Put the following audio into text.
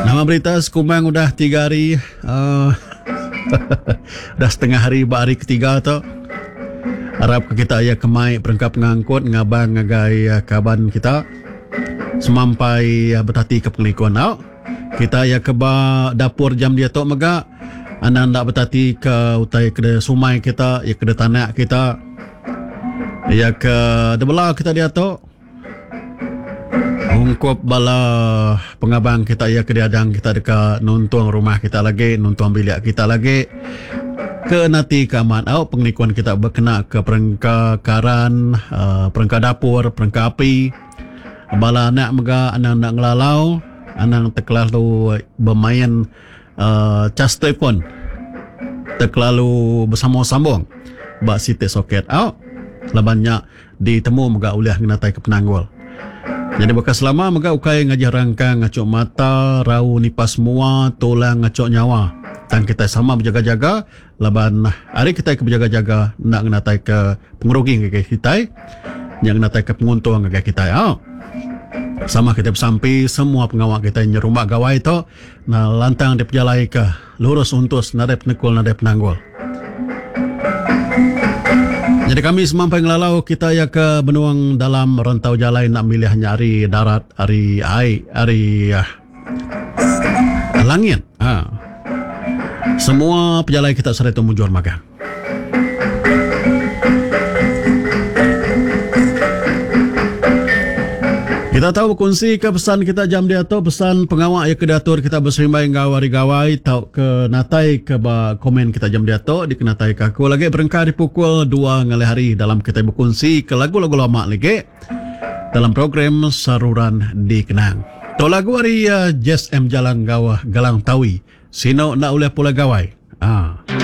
Nama berita sekumbang udah tiga hari uh, udah setengah hari ba hari ketiga tu. Arap ke kita iya kemai perengka pengangkut ngabang ngagai eh, kaban kita semampai eh, betati ke pengelikun au. Kita iya ke ba dapur jam diatu mega anang enda betati ke utai ke sumai kita, iya ke tanak kita. Iya ke debela kita diatu. Ungkup bala pengabang kita iya ke diadang kita deka nuntung rumah kita lagi, nuntung bilik kita lagi. Ke nati ke amat au pengelikun kita bekena ke perengka karan, uh, perengka dapur, perengka api. Bala anak mega anang enda ngelalau, anang terkelalu bermain uh, cas telefon. Terkelalu bersambung-sambung ba siti soket au. Laban nya ditemu mega ulih ngenataika penanggul. Nyadi baka selama mega ukai ngajih rangkang ngachuk mata, rau nipas mua, tulang ngachuk nyawa. Tang kitai sama bejaga-jaga laban ari kitai ke bejaga-jaga enda ngenataika pengerugi ngagai kitai, nya ngenataika penguntung ngagai kitai. Au. Sama kitai besampi semua pengawa kitai nyerumba gawai tu lantang dipejalaika lurus untus nadai penekul nadai penanggul. Nyadi kami semampai ngelalau kita iya ke benung dalam rantau jalai enda milih nya ari darat, ari ai, ari langit. Ha. Semua pejalai kita sehari tu mujur magang. Kita tau bekunsi ke pesan kita jam diatu pesan pengawa iya ke diatur kita beserimbai enggau hari gawai tauka natai ke ba komen kita jam diatu dikenatai ke aku lagi berengkah di pukul 2 ngalih hari dalam kita bekunsi ke lagu-lagu lama lagi dalam program Saruran Dikenang. Tu lagu ari uh, Jess M Jalang enggau Galang Tawi. Sino enda ulih pulai gawai. Ah.